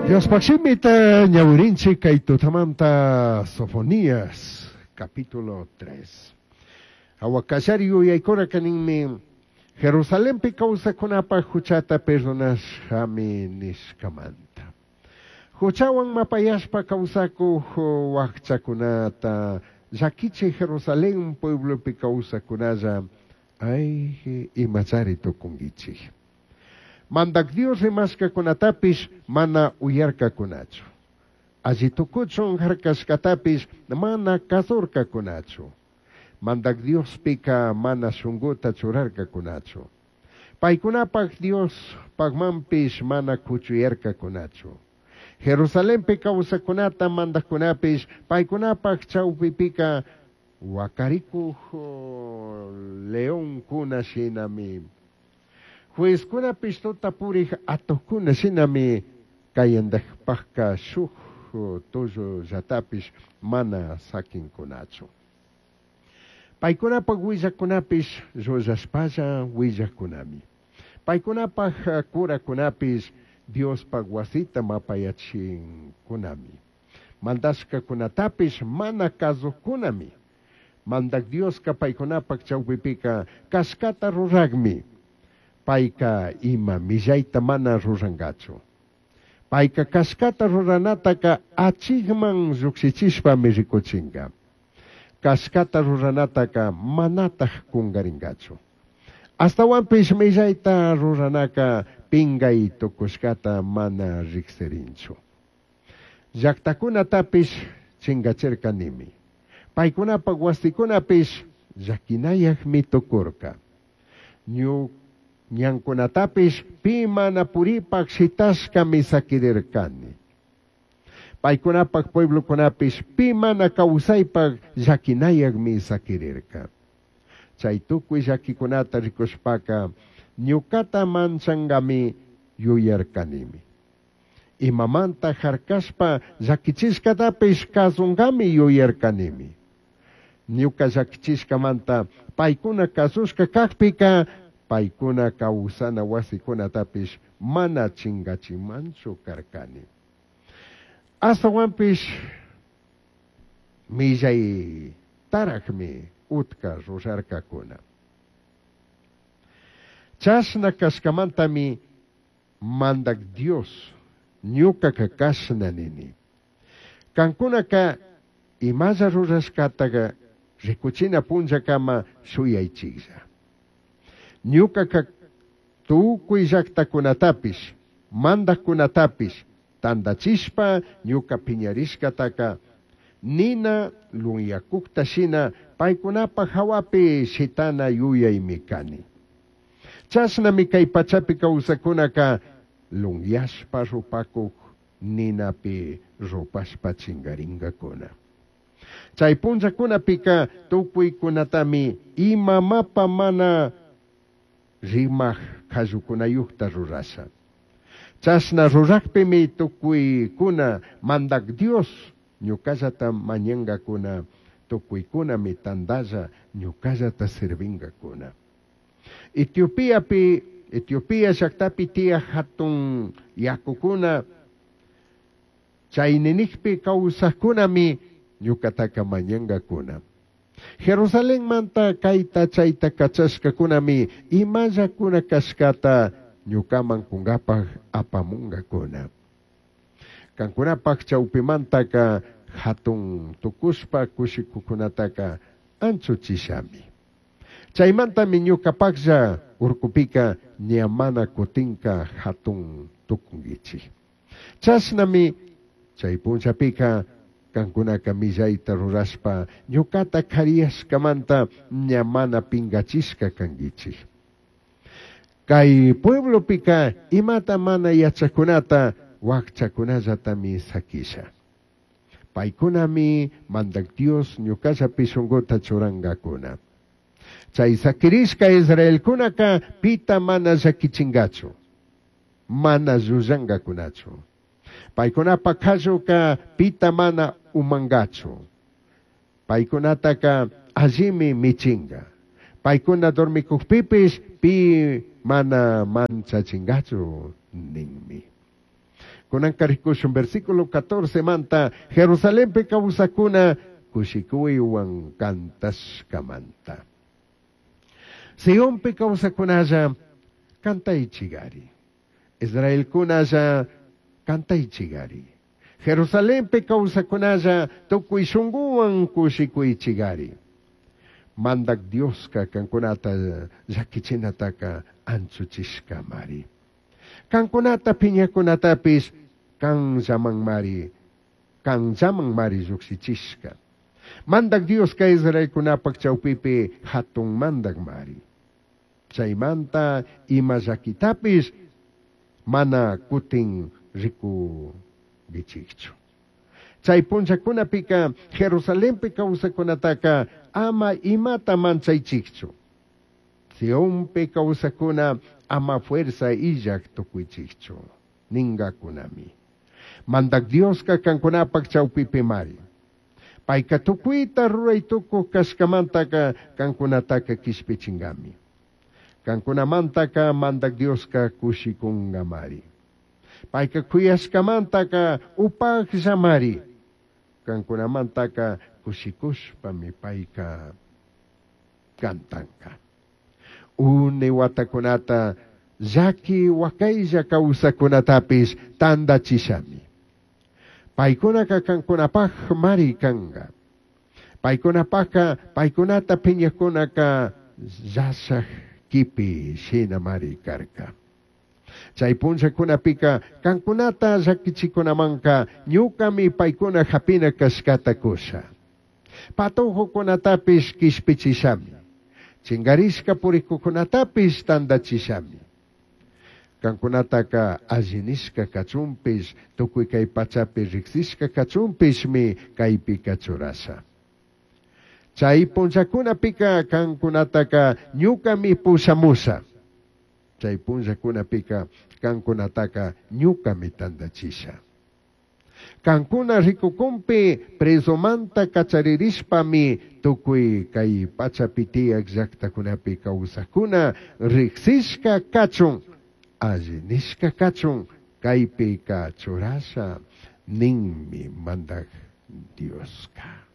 Diospaj shimita ñawirinchik kay tutamanta Sofonías capítulo 3. Jahua kallari yuyaykunaka ninmi Jerusalenpi kawsajkunapaj juchata perdonashami nishkamanta. Juchawan mapayashpa kawsakuj wajchakunata llakichij Jerusalén pueblopi kawsajkunalla ay imachari tukunkichik. Mandak Dios rimashkakunatapish mana uyarkakunachu. Alli tukuchun harkashkatapish mana kazurkakunachu. Mandak Diospika mana shunguta churarkakunachu. Paykunapaj Dios pagmanpish mana kuchuyarkakunachu. Jerusalenpi kawsajkunata mandajkunapish paykunapaj chawpipika wakarikuj leonkuna shinami. Juezkunapish tuta purij atukuna shinami kayandajpajka shuj tullullatapish mana sakinkunachu. Paykunapaj willakunapish llullashpalla willakunami. Paykunapaj kurakunapish Diospaj wasita mapayachinkunami. Mandashkakunatapish mana kazujkunami. Mandak Dioska paykunapaj chawpipika kashkata rurajmi. Payka ima millayta mana rurankachu. Payka kashkata ruranataka achikman llukshichishpami rikuchinka. Kashkata ruranataka manataj kunkarinkachu. Ashtawanpish millayta ruranaka pingay tukushkata mana riksirinchu. Llaktakunatapish chinkachirkanimi. Paykunapaj wasikunapish llakinayajmi tukurka. Ñankunatapish pi mana puripaj shitashkami sakirirkani. Paykunapaj pueblokunapish pi mana kawsaypaj llakinayajmi sakirirka. Chay tukuy llakikunata rikushpaka ñukata manchankami yuyarkanimi. Imamanta harkashpa llakichishkatapish kasunkami yuyarkanimi. Ñuka llakichishkamanta paykuna kasushka kakpika paykuna kawsana wasikunatapish mana chinkachimanchu karkani. Ashtawanpish millay tarakmi utka rurarkakuna. Chashna kashkamantami mandak Dios ñukaka kashna nini. Kankunaka imalla rurashkataka rikuchina punllakama shuyaychiklla. Ñukaka tukuy llaktakunatapish mandajkunatapish tandachishpa ñuka piñarishkataka nina lunyakukta shina paykunapaj hawapi shitana yuyaymi kani. Chashnami kay pachapi kawsakunaka lunyashpa rupakuk ninapi rupashpa chingaringakuna. Chay punllakunapika tukuykunatami ima mapa mana rimaj kallukunayukta rurasha. Chashna rurakpimi tukuykuna mandak Dios ñukallata mañangakuna tukuykunami tandalla ñukallata sirvingakuna. Etiopiapi Etiopía llaktapi tiyaj hatun yakukuna chayninikpi kawsajkunami ñukataka mañangakuna. Jerusalenmanta kayta chayta kachashkakunami imallakuna kashkata ñukaman kunkapaj apamungakuna. Kankunapaj chawpimantaka hatun tukushpa kushikukunataka anchuchishami. Chaymantami ñukapajlla urkupika ña mana kutinka hatun tukunkichik. Chashnami chay punllapika kankunaka millayta rurashpa ñukata kariyashkamanta ña mana pinkachishka kankichik. Kay pueblopika imata mana yachakunata wakchakunallatami sakisha. Paykunami mandak Dios ñukallapi shunkuta churankakuna. Chay sakirishka Israelkunaka pita mana llakichinkachu, mana llullankakunachu. Paykunapa kalluka pita mana umankachu. Paykunataka allimi michinka. Paykuna dormikukpipish pi mana manchachinkachu ninmi. Kunanka rikushun versículo 14 manta Jerusalenpi kawsakuna kushikuywan kantashkamanta. Sionpi kawsakunalla kantaychigari. Israelkunalla kantaychigari. Jerusalenpi kawsakunalla tukuy shunguwan kushikuychigari. Mandak Dioska kankunata llakichinataka anchuchishkamari. Kankunata piñakunatapis kanllamanmari, kanllamanmari llukshichishka. Mandak Dioska Israelkunapak chawpipi hatun mandakmari. Chaymanta ima llakitapis mana kutin rikugichikchu. Chay punllakunapika Jerusalenpi kawsakunataka ama imata manchaychikchu. Sionpi kawsakuna ama fuerza illak tukuychikchu. Ningakunami. Mandak Dioska kankunapak chawpipimari. Payka tukuyta ruray tukuq kashkamantaka kankunataka kishpichingami. Kankunamantaka mandak Dioska kushikungamari. Payka kuyashkamantaka upaqllamari. Kankunamantaka kushikushpami payka kantanka. Une watakunata llaki wakaylla kawsakunatapis tandachishami. Paykunaka kankunapaq mari kanka. Paykunapaqqa paykunata piñakunaka llashaq kipi shina mari karka. Chay punllakunapika kankunata llakichikunamanka ñukami paykuna hapina kashkata kusha. Patujukunatapis kishpichishami. Chingarishka purikukunatapis tandachishami. Kankunataka allinishka kachunpish, tukuy kay pachapi riksishka kachunpishmi kaypika churasha. Chay punllakunapika kankunataka ñukami pushamusha. Chay punllakunapika kankunataka ñukami tandachisha. Kankuna rikukunpi presomanta kacharirishpami tukuy kay pachapi tiyak llaktakunapi kawsakuna riksishka kachun, alli nishka kachun, kaypika churasha ninmi mandak Dioska.